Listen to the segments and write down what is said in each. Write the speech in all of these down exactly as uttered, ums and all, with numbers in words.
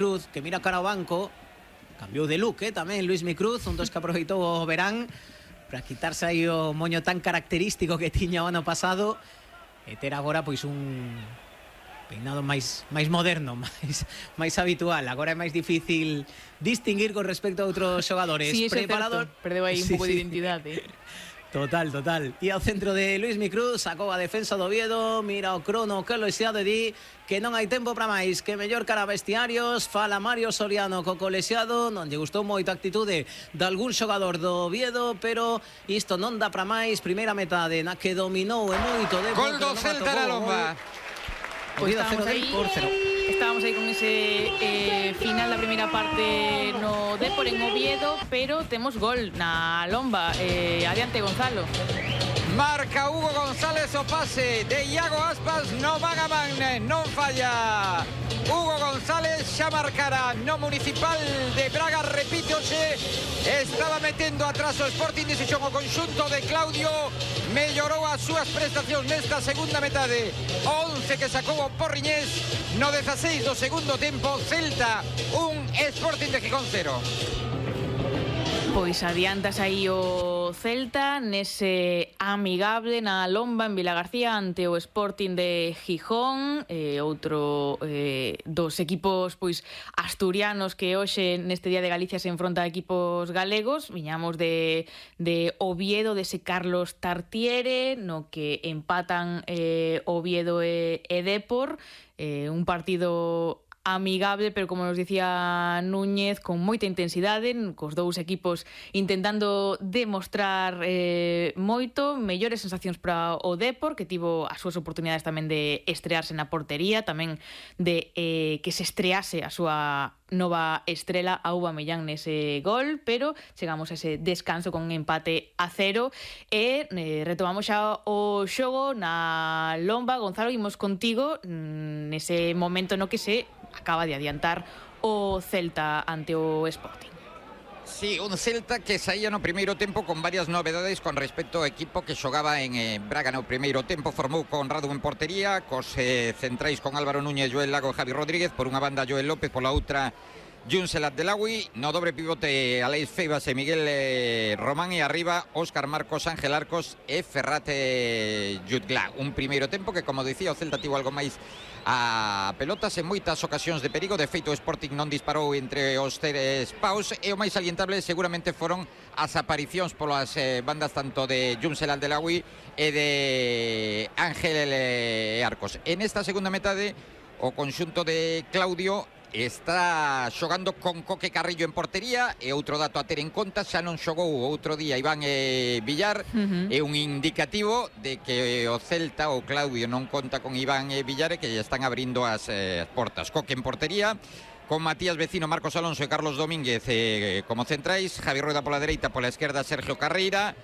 Cruz, que mira cara ao banco. Cambiou de look, eh, tamén Luismi Cruz, un dos que aproveitou o verán para quitarse aí o moño tan característico que tiña o ano pasado e ter agora pois un peinado máis máis moderno, máis máis habitual. Agora é máis difícil distinguir con respecto a outros xogadores. Sí, Preparador, perdeu aí un sí, pouco sí. de identidade. Total, total. E ao centro de Luismi Cruz, sacou a defensa do Oviedo, mira o crono que lo xa de di que non hai tempo para máis, que mellor cara a vestiarios. Fala Mario Soriano co colexiado, non lle gustou moito a actitude de algún xogador do Oviedo, pero isto non dá para máis. Primeira metade na que dominou e moito de Gol do Celta na Lomba. Pois estábamos aí, estábamos aí con ese eh, final da primeira parte no Depor en Oviedo, pero temos gol na Lomba. Eh, adiante, Gonzalo. Marca Hugo González o pase de Iago Aspas, no van a man, non falla. Hugo González xa marcará no Municipal de Braga, repítoxe, estaba metendo atrás o Sporting de Xixón, o conxunto de Claudio mellorou as súas prestacións nesta segunda metade. once que sacou o Porriñés no dezaseis do segundo tempo. Celta un, Sporting de Gijón cero. Pois adiantas aí o Celta nese amigable na Lomba en Vilagarcía ante o Sporting de Gijón, eh, outro eh, dos equipos pois asturianos que hoxe neste Día de Galicia se enfronta a equipos galegos. Viñamos de, de Oviedo, dese Carlos Tartiere, no que empatan eh, Oviedo e, e Depor, eh, un partido amigable, pero como nos dicía Núñez, con moita intensidade, cos dous equipos intentando demostrar eh, moito, mellores sensacións para o Depor, que tivo as súas oportunidades tamén de estrearse na portería, tamén de eh, que se estrease a súa nova estrela Aubameyang nese gol, pero chegamos a ese descanso con un empate a cero e eh, retomamos xa o xogo na Lomba. Gonzalo, imos contigo nese momento no que se acaba de adiantar o Celta ante o Sporting. Sí, un Celta que saía no primeiro tempo con varias novedades con respecto ao equipo que xogaba en eh, Braga no primeiro tempo. Formou con Radu en portería, cos eh, centrais con Álvaro Núñez, Joel Lago e Javi Rodríguez, por unha banda Joel López, pola outra Junsel Abdelawi, no dobre pivote Aleix Feibas e Miguel eh, Román, e arriba Óscar Marcos, Ángel Arcos e Ferrate Jutglà. Un primeiro tempo que, como dicía, o Celta tivo algo máis a pelotas en moitas ocasións de perigo. De feito, o Sporting non disparou entre os tres paus, e o máis salientable seguramente foron as aparicións polas eh, bandas tanto de Junsel Abdelawi e de Ángel eh, Arcos. En esta segunda metade, o conxunto de Claudio está xogando con Coque Carrillo en portería, e outro dato a ter en conta, xa non xogou outro día Iván eh, Villar, uh-huh. É un indicativo de que o Celta, o Claudio, non conta con Iván eh, Villar, e que lle están abrindo as eh, portas. Coque en portería, con Matías Vecino, Marcos Alonso e Carlos Domínguez eh, como centrais, Javi Rueda pola dereita, pola esquerda Sergio Carreira,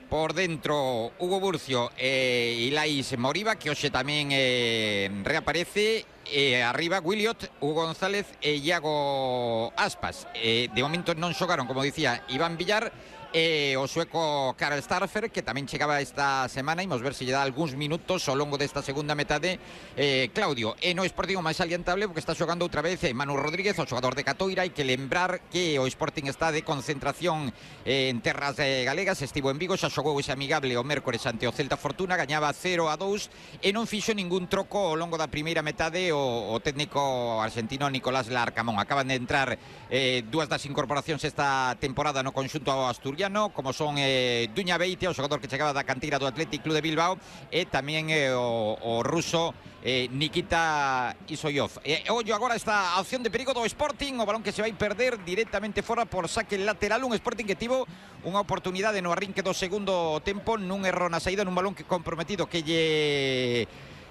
por dentro Hugo Burcio e Ilais Moriba, que hoxe tamén eh, reaparece, e arriba Williot, Hugo González e Iago Aspas. Eh, de momento non xogaron, como dicía, Iván Villar e o sueco Karl Starfer, que tamén chegaba esta semana. Imos ver se lle dá algúns minutos ao longo desta segunda metade eh, Claudio. E no Sporting o máis salientable, porque está xogando outra vez eh, Manu Rodríguez, o xogador de Catoira. Hai que lembrar que o Sporting está de concentración eh, en terras eh, galegas. Estivo en Vigo, xa xogou ese amigable o mércores ante o Celta Fortuna, gañaba cero a dous e non fixo ningún troco ao longo da primeira metade o, o técnico argentino Nicolás Larcamón. Acaban de entrar eh, dúas das incorporacións esta temporada no conxunto asturiano, como son eh, Duña Beitia, o xogador que chegaba da canteira do Athletic Club de Bilbao, e tamén eh, o, o ruso eh, Nikita Isoyov. E ollo agora esta opción de perigo do Sporting, o balón que se vai perder directamente fora por saque lateral. Un Sporting que tivo unha oportunidade no arrinque do segundo tempo, nun erro na saída, nun balón que comprometido que lle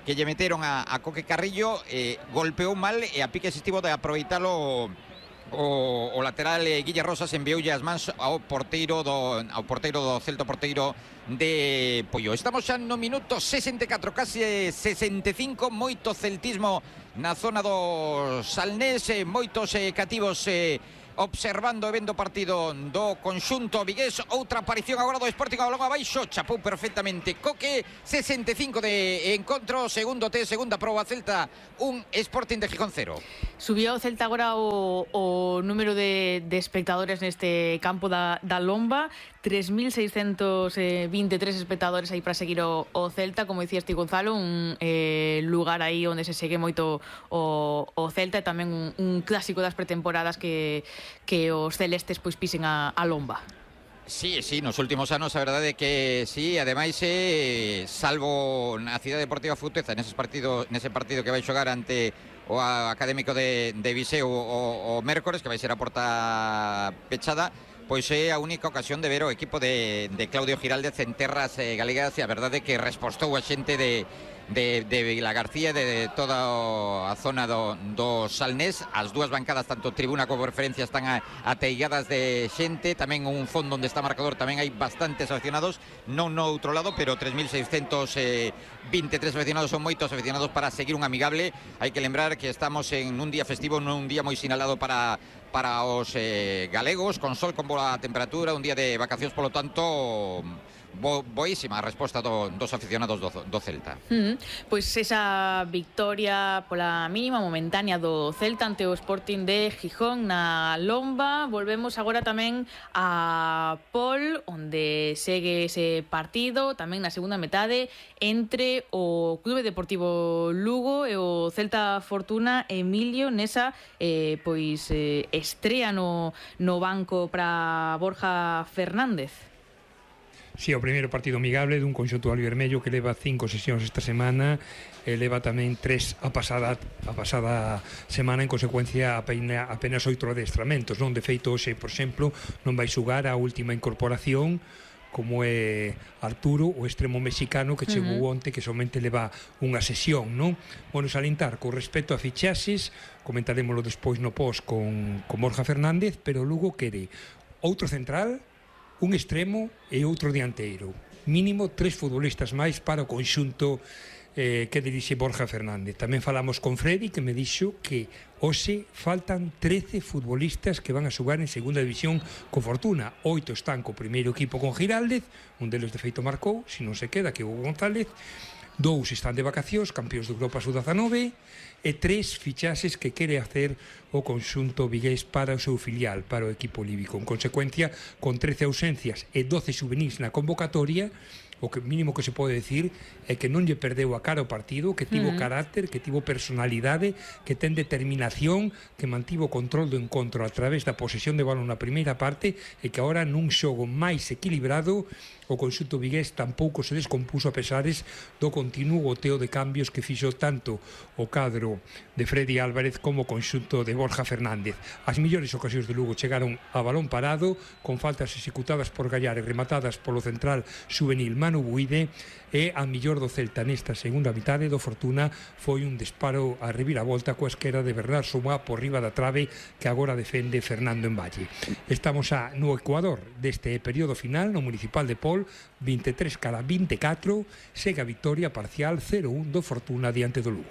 que lle meteron a, a Coque Carrillo, eh, golpeou mal, e a piques estivo de aproveitalo O, o lateral eh, Guille Rosas, envioulle as mans ao porteiro do ao porteiro do Celta, porteiro de Pollo. Estamos xa no minuto sesenta e catro, casi sesenta e cinco. Moito celtismo na zona do Salnés, eh, moitos eh, cativos eh, observando e vendo partido do conxunto vigués. Outra aparición agora do Sporting ao longo abaixo, chapou perfectamente Coque. Sesenta e cinco de encontro, segundo T, segunda proba. Celta un, Sporting de Gijón cero. Subió o Celta agora o, o número de, de espectadores neste campo da, da Lomba, tres mil seiscentos vinte e tres espectadores aí para seguir o, o Celta, como dicías ti, Gonzalo, un eh, lugar aí onde se segue moito o, o Celta, e tamén un, un clásico das pretemporadas que, que os celestes pois pisen a, a Lomba. Sí, sí, nos últimos anos a verdade é que sí, ademais eh, salvo na Cidade Deportiva Futeza nese partido, nese partido que vai xogar ante o Académico de, de Viseu o, o mércores, que vai ser a porta pechada, pois é a única ocasión de ver o equipo de, de Claudio Giraldez en terras eh, galegas, e a verdade é que respostou a xente de de, de Vilagarcía, de, de toda a zona do, do Salnés. As dúas bancadas, tanto tribuna como referencia, están a, ateigadas de xente. Tamén un fondo onde está marcador tamén hai bastantes aficionados, non no outro lado, pero tres mil seiscentos vinte e tres aficionados son moitos aficionados para seguir un amigable. Hai que lembrar que estamos en un día festivo, nun día moi sinalado para para os eh, galegos, con sol, con boa temperatura, un día de vacacións, polo tanto Bo, boísima a resposta do, dos aficionados do, do Celta. Mm, pois esa victoria pola mínima momentánea do Celta ante o Sporting de Gijón na Lomba. Volvemos agora tamén a Pol, onde segue ese partido tamén na segunda metade entre o Clube Deportivo Lugo e o Celta Fortuna. Emilio, nesa eh, pois eh, estrea no, no banco para Borja Fernández. Si, sí, o primeiro partido amigable dun conxunto alvermello que leva cinco sesións esta semana, e leva tamén tres a pasada a pasada semana, en consecuencia apenas, apenas oito adestramentos, non? De feito, hoxe, por exemplo, non vai xugar a última incorporación, como é Arturo, o extremo mexicano que chegou uh -huh. onte, que somente leva unha sesión, non? Bueno, salientar, con respecto a fichaxes, comentaremoslo despois no post con, con Borja Fernández, pero Lugo quere outro central, un extremo e outro dianteiro. Mínimo tres futbolistas máis para o conxunto eh, que dirixe Borja Fernández. Tamén falamos con Freddy, que me dixo que hoxe faltan trece futbolistas que van a xogar en segunda división con Fortuna. Oito están co primeiro equipo con Giraldez, un deles de feito marcou, se non se queda, que é Hugo González. Dous están de vacacións, campeóns de Europa sub dezanove, e tres fichaxes que quere hacer o conxunto vigués para o seu filial, para o equipo líbico. En consecuencia, con trece ausencias e doce juvenis na convocatoria, o que mínimo que se pode decir é que non lle perdeu a cara o partido, que tivo uh -huh. carácter, que tivo personalidade, que ten determinación, que mantivo o control do encontro a través da posesión de balón na primeira parte, e que agora nun xogo máis equilibrado o conxunto vigués tampouco se descompuso a pesares do continuo goteo de cambios que fixo tanto o cadro de Freddy Álvarez como o conxunto de Borja Fernández. As millores ocasións de Lugo chegaron a balón parado, con faltas executadas por Gallar e rematadas polo central juvenil Manu Buide, e a millor do Celta nesta segunda mitade do Fortuna foi un disparo a reviravolta coa esquerda de Bernard Sumá por riba da trave, que agora defende Fernando Envalle. Estamos a, no Ecuador deste período final, no Municipal de Pol, vinte e tres cara vinte e catro, segue a victoria parcial cero un do Fortuna diante do Lugo.